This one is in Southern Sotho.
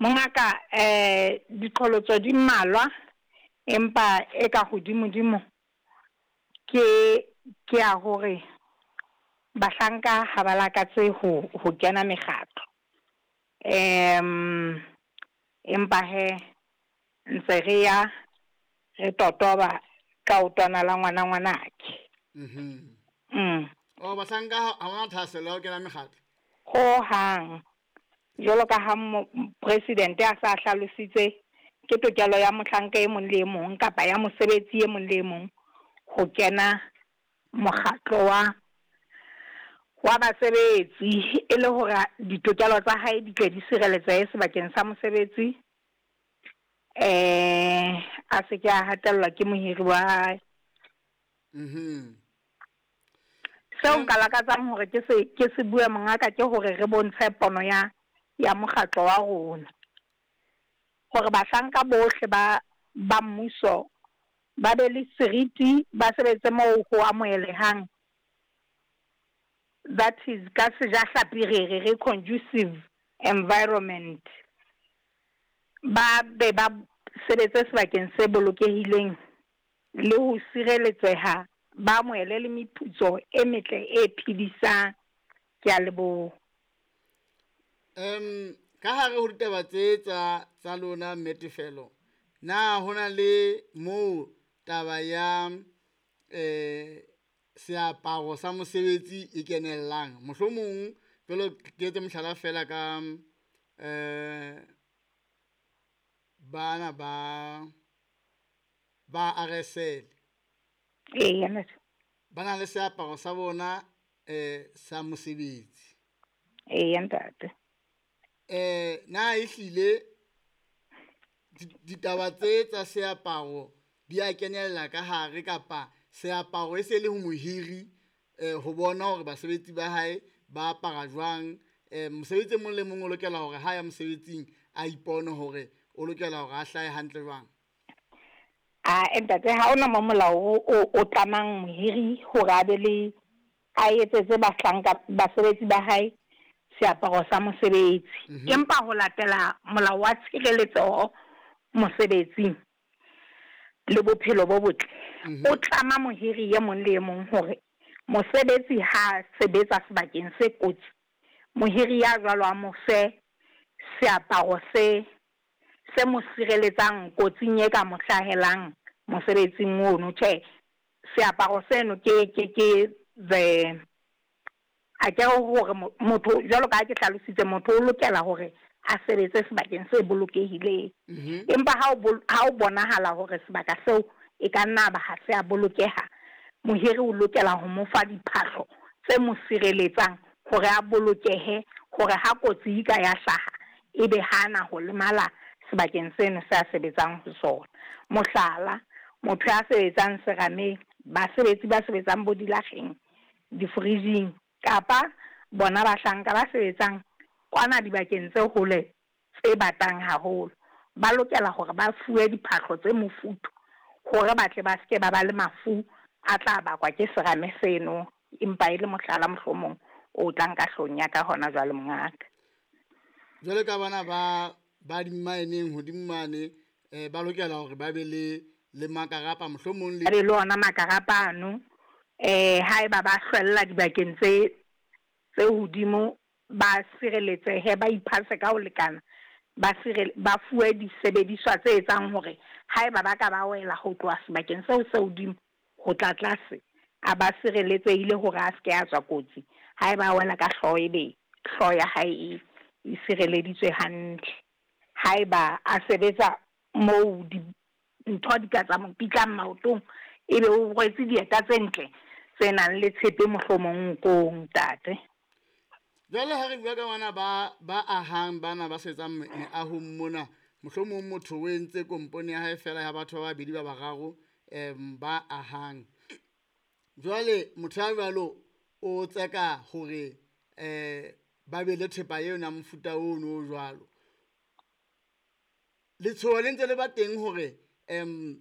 Mongaka diqholotso di mmalwa empa e ka hodimo-dimo ke ke ya hore bahlanka ha ba lakatse ho kena mekgatlo. Empa hee ntse re ya re totoba ka otwana la ngwana ngwanake. Oh, bahlanka ha ba thahasello ya ho kena mekgatlo? Ho hang. Jwalo ka ha president a sa hlalositse, ke tokelo ya mohlanka e mong le e mong kapa ya mosebetsi e mong le e mong ho kena mokgatlo wa basebetsi e le hore ditokelo tsa hae di tle di sireletsehe sebakeng sa mosebetsi. A se ke a hatellwa ke mohiri wa hae. Seo nka lakatsang hore ke se bue, mongaka, ke hore re bontshe pono ya mokgatlo wa rona. Hore bahlanka bohle ba mmuso ba be le seriti, ba sebetse moo ho amohelehang. That is, ka sejahlapi re conducive environment. Ba be ba sebetse sebakeng se bolokehileng le ho sireletseha, ba amohele le meputso e metle e phedisang. Ke a leboha. Ka hare ho ditaba tse tsa lona, mme Tefelo, na hona le moo taba ya seaparo sa mosebetsi e kenellang? Mohlomong jwalo ke etse mohlala fela ka bana ba RSL. Eya, ntate. Ba na le seaparo sa bona sa mosebetsi. Eya, ntate. Na ehlile ditaba tse tsa seaparo di a kenella ka hare, kapa seaparo e se le ho mohiri ho bona hore basebetsi ba hae ba apara jwang? Mosebetsi e mong le mong o lokela hore ha ya mosebetsing a ipone hore o lokela hore a hlahe hantle jwang? A ntate, ha ona mo molao o tlamang mohiri hore a be le a etsetse bahlanka basebetsi ba hae seaparo sa mosebetsi. Empa ho latela molao wa tshireletseho mosebetsing le bophelo bo botle, o tlama mohiri e mong le e mong hore mosebetsi ha sebetsa sebakeng se kotsi, mohiri ya jwalo a mo fe seaparo se mo sireletsang kotsing e ka mo hlahelang mosebetsing ono. Tjhe, seaparo seno ke the a ke hore motho, jwalo ka ha ke hlalositse, motho o lokela hore a sebetse sebakeng se bolokehileng. Empa ha o bonahala hore sebaka seo e ka nna ba ha se a bolokeha, mohiri o lokela ho mo fa diphahlo tse mo sireletsang hore a bolokehe, hore ha kotsi e ka ya hlaha ebe hana ho lemala sebakeng seno se a sebetsang ho sona. Mohlala, motho ya sebetsang serameng, basebetsi ba sebetsang bo dilakgeng, di-fridge-ing, kapa bona bahlanka ba sebetsang kwana dibakeng tse hole tse batang haholo, ba lokela hore ba fuwe diphahlo tse mofuthu hore ba tle ba seke ba ba le mafu a tla bakwa ke serame seno. Empa e le mohlala mohlomong o tlang ka hloohong ya ka hona jwale, mongaka. Jwale ka bana ba di-mine-eng hodimo mane, ba lokela hore ba be le makarapa mohlomong le Ba be le ona makarapa ano. Haeba ba hlwella dibakeng tse hodimo, ba sireletsehe, ba iphase ka ho lekana, ba fuwe disebediswa tse etsang hore haeba ba ka ba wela ho tloha sebakeng seo se hodimo ho tla tlase, a ba sireletsehile hore a seke a tswa kotsi. Haeba a wela ka hlooho, ebe hlooho ya hae e sireleditswe hantle. Haeba a sebetsa moo dintho di ka tsa mo pitlang maotong, ebe o rwetse dieta tse ntle tse nang le tshepe mohlomong nkong, ntate. Jwale ha re bua ka bana ba ahang, bana ba sebetsang meahong mona, mohlomong motho o entse kompone ya hae fela ya batho ba babedi ba bararo ba ahang. Jwale motho ya jwalo o tseka hore ba be le thepa eo ya mofuta ono o jwalo. Letshoho le ntse le ba teng hore